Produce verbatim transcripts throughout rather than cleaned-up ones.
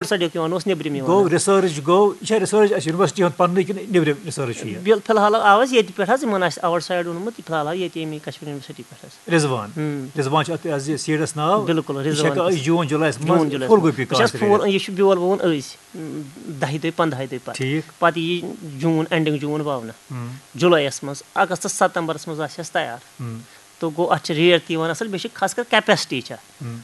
سایڈُک یِوان اوس، نیٚبرِم یِوان گوٚو اوس۔ ریسرچ گوٚو، یہِ چھا ریسرچ اَسہِ یونیورسٹی ہُنٛد پَننُے کِنہٕ نیٚبرِم ریسرچ چھُ یہِ؟ بِل-، فی الحال آو اَسہِ ییٚتہِ پٮ۪ٹھ حظ، یِمَن آسہِ آوُٹ سایڈ اوٚنمُت، یہِ فی الحال آو ییٚتہِ ییٚمی کشمیٖر یونیورسٹی پٮ۪ٹھ حظ۔ رضوان۔ ہُم۔ رضوان چھُ اَتھ، یہِ حظ یہِ سیٖڈَس ناو۔ بِلکُل، یہِ چھِ رضوان ہٮ۪کان چھُ۔ أسۍ جوٗن جُلایَس جوٗن منٛز جُلایَس فُل منٛز۔ گوٗپی بہٕ چھَس کاشت فُل، کٔرِتھ۔ یہِ چھُ بیول وَوُن أزۍ، دَہہِ دۄہہِ، پنٛدہَے دۄہہِ پَتہٕ۔ ٹھیٖک۔ پَتہٕ یی جوٗن، اینڈِنٛگ جوٗن وَونہٕ۔ ہُم۔ جُلایَس منٛز، اَگستَس، ستمبرَس منٛز آسہِ اَسہِ تیار۔ ہُم۔ تہٕ گوٚو، اَتھ چھِ ریٹ تہِ یِوان اَصٕل، بیٚیہِ چھِ خاص کر کیپیسٹی چھےٚ۔ ہُم۔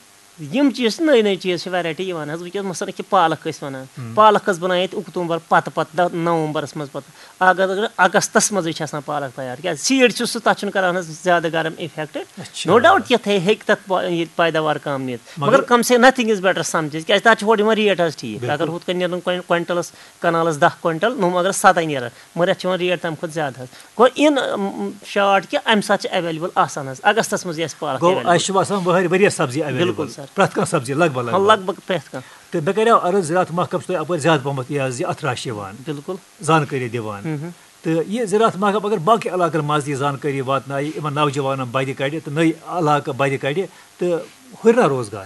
یِم چیٖز چھِ نٔے نٔے چیٖز چھِ، ویرایٹی یِوان حظ وٕنکیٚس، مثلاً کہِ پالک ٲسۍ وَنان، ہُم۔ پالک ٲس بَنان ییٚتہِ اکتوٗبر پَتہٕ پَتہٕ، دَہ-، نومبرَس منٛز پَتہٕ۔ اگر اگر اگستَس منٛزٕے چھِ آسان پالک تیار، کیٛازِ سیٖڈ چھُ سُہ، تَتھ چھُنہٕ کران حظ زیادٕ گرم افیکٹ۔ اچھا۔ نو ڈاؤٹ، تِتھے ہیٚکہِ تَتھ پا-، یہِ پیداوار کم نِتھ، مگر مگر کم سے نتھنگ از بیٹر سم چیز، کیٛازِ تَتھ چھِ ہورٕ یِوان ریٹ حظ ٹھیٖک۔ بِلکُل۔ اگر ہُتھ کٔنۍ نیرن کوین-، کوینٹلس، کنالس دَہ کوینٹل، نوٚم اگر سَتَے نیرن، مگر یَتھ چھِ یِوان ریٹ تَمہِ کھۄتہٕ زیادٕ حظ۔ گوٚو اِن، م، شارٹ کہِ اَمہِ ساتہٕ چھِ ایویلیبل آسان حظ، اگستس منٛز یہِ اَسہِ پالک گوٚو ایویلیبل۔ اَسہِ چھُ آسان وٕہٕرۍ ؤریَس سبزی ایویلیبل۔ بِلکُل سر۔ پرٛٮ۪تھ کانٛہہ سبزی لگ بھگ لگ ہاں، بھگ۔ لگ بھگ پرٛٮ۪تھ کانٛہہ۔ تہٕ مےٚ کریو عرض، زراعت محکمہٕ چھُ تۄہہِ اَپٲرۍ زیادٕ پہمتھ یہِ حظ یہِ اَتھ راشہِ یِوان، بِلکُل۔ زانکٲری دِوان۔ ہُم ہُم۔ تہٕ یہِ زراعت محکمہٕ اگر باقٕے علاقن منٛز تہِ یہِ زانکٲری واتنایہِ، یِمن نوجوانن بدِ کڑِ تہٕ نٔے علاقہٕ بدِ کڑِ تہٕ ہُرِ نا روزگار۔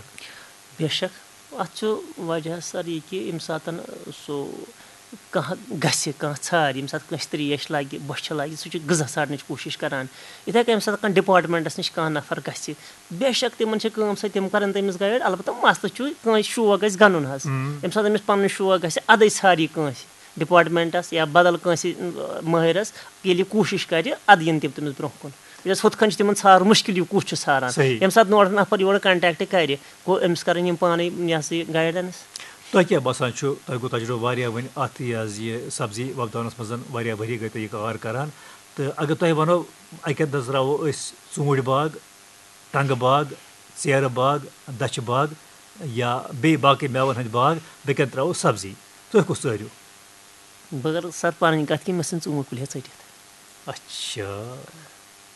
بے شک، اَتھ چھُ وجہ سر یہِ کہِ ییٚمہِ ساتہٕ سُہ کانٛہہ گژھِ، کانٛہہ ژھارِ، ییٚمہِ ساتہٕ کٲنٛسہِ ترٛیش لگہِ، بۄچھِ لگہِ، سُہ چھُ غذا ژھارنٕچ کوٗشِش کران۔ یِتھَے کٔنۍ ییٚمہِ ساتہٕ کانٛہہ ڈپارٹمنٹس نِش کانٛہہ نفر گژھِ، بے شک تِمن چھِ کٲم سۄ، تِم کرن تٔمِس گایڈ۔ البتہ مسلہٕ چھُ کٲنٛسہِ شوق گژھِ گنُن حظ۔ ہُم۔ ییٚمہِ ساتہٕ أمِس پنٕنۍ شوق گژھِ، ادے ژھارِ یہِ کٲنٛسہِ ڈپارٹمنٹس یا بدل کٲنٛسہِ، م، مٲہرس، ییٚلہِ یہِ کوٗشِش کرِ، ادٕ یِن تِم تٔمِس برونٛہہ کُن۔ یۄس ہُتھ کٔنۍ چھِ تِمن ژھارُن مُشکِل، یہِ کُس چھُ ژھاران۔ صحیح۔ ییٚمہِ ساتہٕ نورٕ نفر یورٕ کنٹیکٹ کرِ، گوٚو أمِس کرن یِم پانے، یہِ ہسا یہِ، گایڈنس۔ تۄہہِ کیٛاہ باسان چھُ، تۄہہِ گوٚو تجربہٕ واریاہ وۄنۍ اَتھ یہِ حظ یہِ سبزی وۄپداونَس منٛز، واریاہ ؤری گٔے تۄہہِ یہِ کار کران، تہٕ اگر تۄہہِ وَنو، اَکہِ اَندَز ترٛاوو أسۍ ژوٗنٛٹھۍ باغ، ٹنٛگہٕ باغ، ژیرٕ باغ، دَچھِ باغ یا بیٚیہِ باقٕے مٮ۪وَن ہٕنٛدۍ باغ، بیٚیہِ کَتہِ ترٛاوو سبزی، تُہۍ کُس ژٲرِو؟ بہٕ کرٕ سر پنٕنۍ کتھ کہِ مےٚ ژھٕنۍ ژوٗنٛٹھۍ کُلۍ ہیٚتھ ژٔٹِتھ۔ اچھا۔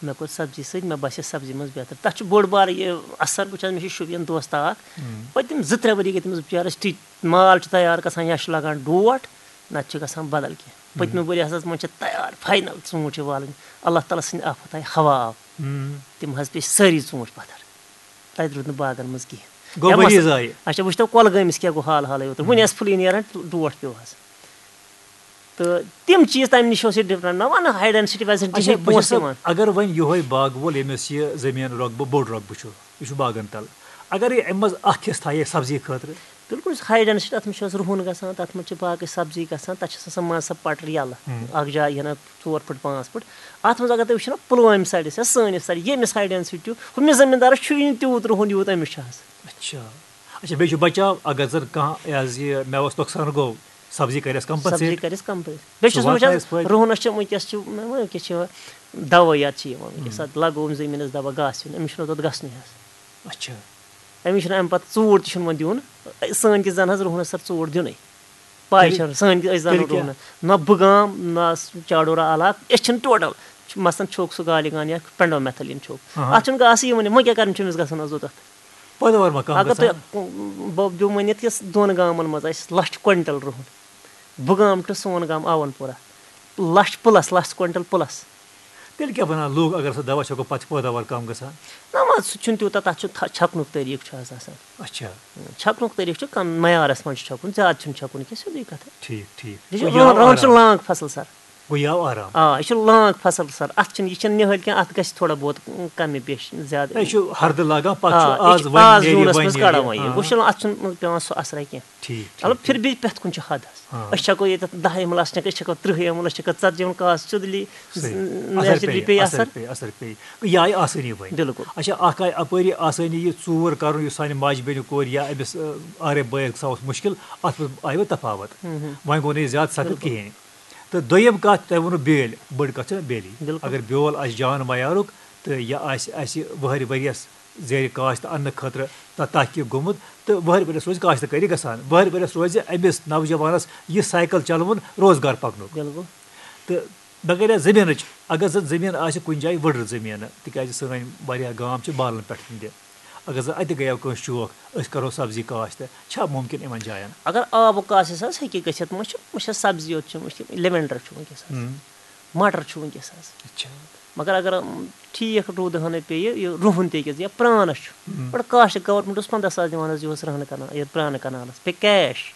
مےٚ کوٚر سبزی سۭتۍ، مےٚ باسے سبزی منٛز بہتر۔ تتھ چھُ بوٚڑ بارٕ یہِ اثر، بہٕ چھُس، مےٚ چھُ شُپین دوستہ اکھ، ہُم۔ پٔتِم زٕ ترٛےٚ ؤری گٔے تٔمِس بِچارس ٹھیٖک، مال چھُ تیار گژھان یا چھُ لگان ڈوٹھ، نتہٕ چھُ گژھان بدل کینٛہہ۔ پٔتمہِ ؤری ہسا منٛز چھِ تیار فاینل ژوٗنٛٹھۍ چھِ والٕنۍ، اللہ تعالیٰ سٕنٛدِ آفت آیہِ ہوا آو، ہُم۔ تِم حظ پیٚیہِ سٲری ژوٗنٛٹھۍ پتھر، تتہِ روٗد نہٕ باغن منٛز کِہیٖنۍ۔ گوٚو یا ؤری مثلاً، ضایع۔ اچھا، وٕچھتو کۄلگٲمِس کیٛاہ گوٚو حال حالٕے یوت، وُنہِ ٲس پھُلٕے نیران، ڈوٹھ پیوٚو حظ۔ تہٕ تِم چیٖز تَمہِ نِش اوس یہِ ڈِفرنٛٹ۔ مےٚ وَنہٕ ہاے ڈٮ۪نسِٹی وٮ۪نسِٹی اچھا، ہِنٛدۍ بہٕ پونٛسہٕ چھُس سا، یِوان۔ اگر وۄنۍ یِہوٚے باغہٕ وول، ییٚمِس یہِ زٔمیٖن رۄقبہٕ، بوٚڑ رۄقبہٕ چھُ، یہِ چھُ باغن تل، اگر یہِ اَمہِ منٛز اَکھ حِصہٕ تھایہِ سبزی خٲطرٕ؟ بِلکُل، ہاے ڈٮ۪نسِٹی، تَتھ منٛز چھِ اَسہِ رُہُن گژھان، تَتھ منٛز چھِ باقٕے سبزی گژھان، تَتھ چھِ آسان منٛزٕ سۄ پٹٕر یَلہٕ، ہُم۔ اَکھ جاے ہنا ژور پھٕٹ، پانٛژھ پھٕٹ۔ اَتھ منٛز اگر تُہۍ وٕچھِو نا، پُلوامہِ سایڈَس یا سٲنِس سایڈَس، ییٚمِس ہاے ڈٮ۪نسِٹی چھُ، ہُمِس زٔمیٖندارَس چھُ یہِ نہٕ تیوٗت رُہُن یوٗت أمِس چھُ آسان۔ اچھا۔ اچھا، بیٚیہِ چھُ بچاو، اگر زَن کانٛہہ یہِ حظ یہِ مٮ۪وَس نۄقصان گوٚو، سبزی کَرٮ۪س سبزی کَمپَنسیٹ۔ کَرٮ۪س کَمپَنسیٹ۔ بیٚیہِ چھُس سُہ بہٕ وٕچھان، واتنایَس فٲیدٕ۔ رُہنَس چھِ وٕنکیٚس چھِ، وٕنکیٚس چھِ دَوٲیات چھِ یِوان وٕنکیٚس، اَتھ لَگوو أمۍ زٔمیٖنَس دَوا، گاسہٕ یُن، أمِس چھُنہٕ توٚت گژھنُے حظ۔ اچھا۔ أمِس چھُنہٕ اَمہِ پَتہٕ ژوٗر تہِ چھُنہٕ وۄنۍ دیُن۔ سٲنۍ کِس زَنہٕ حظ رُہنَس سَر ژوٗر دیُنٕے۔ پَے تیٚلہِ، چھَنہٕ، سٲنۍ کِس أسۍ زَنہٕ تیٚلہِ کیٛاہ؟ رُہنَس۔ نہ بُگام، نہ چاڈورہ علاقہٕ، أسۍ چھِنہٕ ٹوٹَل۔ چھُ مثلاً چھوٚک سُہ گالی گان یا پٮ۪نڈو میتھلیٖن چھوٚک۔ ہاں۔ اَتھ چھُنہٕ گاسہٕ یِوانٕے، وۄنۍ کیٛاہ کَرُن چھُ أمِس گژھان حظ اوٚتَتھ؟ پٲداوار ما کَم اگر گژھان؟ تۄہہِ بہٕ دِمہٕ ؤنِتھ یُس دۄن گامَن منٛز آسہِ لَچھ کویِنٹَل رُہُن، بُگام ٹُو سون گام آوَن پورہ، لَچھ پٕلَس، لَچھ کویِنٹَل پٕلَس۔ تیٚلہِ کیٛاہ وَنان لوٗکھ، اگر سۄ دَوا چھَکو، پَتہٕ چھِ پٲداوار کَم گژھان؟ نہ، وۄنۍ سُہ چھُنہٕ تیوٗتاہ، تَتھ چھُ تھَ-، چھَکنُک طریٖقہٕ چھُ آز آسان۔ اچھا۔ چھَکنُک طریٖقہٕ چھُ کَم، معیارَس منٛز چھُ چھَکُن، زیادٕ چھُنہٕ چھَکُن کینٛہہ، سیوٚدُے کَتھا۔ ٹھیٖک، ٹھیٖک۔ یہِ چھُ گوٚو رُہَن، یہِ آو رُہَن چھُ آرام۔ لانٛگ فصل سَر۔ گوٚو یہِ آو آرام۔ آ، یہِ چھُ لانٛگ فصل سَر، اَتھ چھُنہٕ، یہِ چھَنہٕ نِہٲلۍ کینٛہہ، اَتھ گژھِ تھوڑا بہت کَمہِ بیشہِ زیادٕ۔ نہ، یہِ چھُ ہردٕ لاگان، پَتہٕ آ، چھُ یہِ آز چھُ وۄنۍ آز نیرِ، جوٗنَس وۄنۍ منٛز نیرِ۔ کَڑان وۄنۍ یہِ۔ آ۔ وۄنۍ چھُنہٕ اَتھ چھُنہٕ پٮ۪وان سُہ اَثرا کینٛہہ۔ ٹھیٖک، ٹھیٖک، مطلب، ٹھیٖک۔ پھر بھی پٮ۪تھ کُن چھُ حد حظ۔ ہاں۔ أسۍ چھَکو ییٚتٮ۪تھ دَہ ایم ایل، اَسہِ چھَکو، أسۍ چھَکو تٕرٛہ ایم ایل، أسۍ چھَکو ژَتجی ایم ایل، کاس چُدلی، صحیح۔ ز-، اثر نیچرلی پیٚیہِ، پیٚیہِ اثر اثر۔ پیٚیہِ، اثر پیٚیہِ۔ یہِ آیہِ آسٲنی وۄنۍ۔ بِلکُل۔ اچھا، اکھ آیہِ اَپٲری آسٲنی یہِ ژوٗر کَرُن، یُس سانہِ ماجہِ بیٚنہِ کورِ یا أمِس، آ، آرے بٲیِس گژھان اوس مُشکِل، اَتھ منٛز آیہِ وۄنۍ تفاوت۔ ہُم، ہُم۔ وۄنۍ گوٚو نہٕ یہِ زیادٕ سخت بِلکُل۔ کِہیٖنۍ۔ تہٕ دوٚیِم کَتھ، تۄہہِ ووٚنوُ بیٛٲلۍ، بٔڑ کَتھ چھےٚ بیٛٲلی۔ بِلکُل۔ اگر بیول آسہِ جان معیارُک تہٕ یہِ آسہِ اَسہِ وٕہٕرۍ ؤریَس زیرِ کاشت اَننہٕ خٲطرٕ تہ-، تحقیٖق گوٚمُت، تہٕ وٕہٕرۍ ؤریَس روزِ کاشتکٲری گژھان۔ وٕہٕرۍ ؤریَس روزِ أمِس نوجوانَس یہِ سایکل چَلوُن روزگار پَکنُک۔ بِلکُل۔ تہٕ بغٲر زٔمیٖنٕچ، اگر زَن زٔمیٖن آسہِ کُنہِ جایہِ ؤڑٕر زٔمیٖنہٕ، تِکیٛازِ سٲنۍ واریاہ گام چھِ بالَن پٮ۪ٹھ تہِ، اگر زَن اَتہِ گٔیو کٲنٛسہِ شوق، أسۍ کَرو سبزی کاشت، چھا مُمکِن یِمَن جایَن؟ اگر آبُک آسہِ حظ، ہیٚکہِ گٔژھِتھ، وۄنۍ چھُ، وٕچھ حظ، سبزی یوت چھُ، وٕچھ، لیونڈر چھُ وٕنکیٚس حظ، ہُم۔ مٹر چھُ وٕنکیٚس حظ۔ اچھا۔ مگر اگر ٹھیٖک روٗدٕ ہٲنٕے پیٚیہِ، یہِ رُہُن تہِ أکِس یا پرٛانَس چھُ، گۄڈٕ کاشت گورمٮ۪نٛٹ اوس پنٛداہ ساس دِوان حظ یِہُس رُہنہٕ کَنال، یَتھ پرٛانہٕ کَنالَس پیٚیہِ کیش۔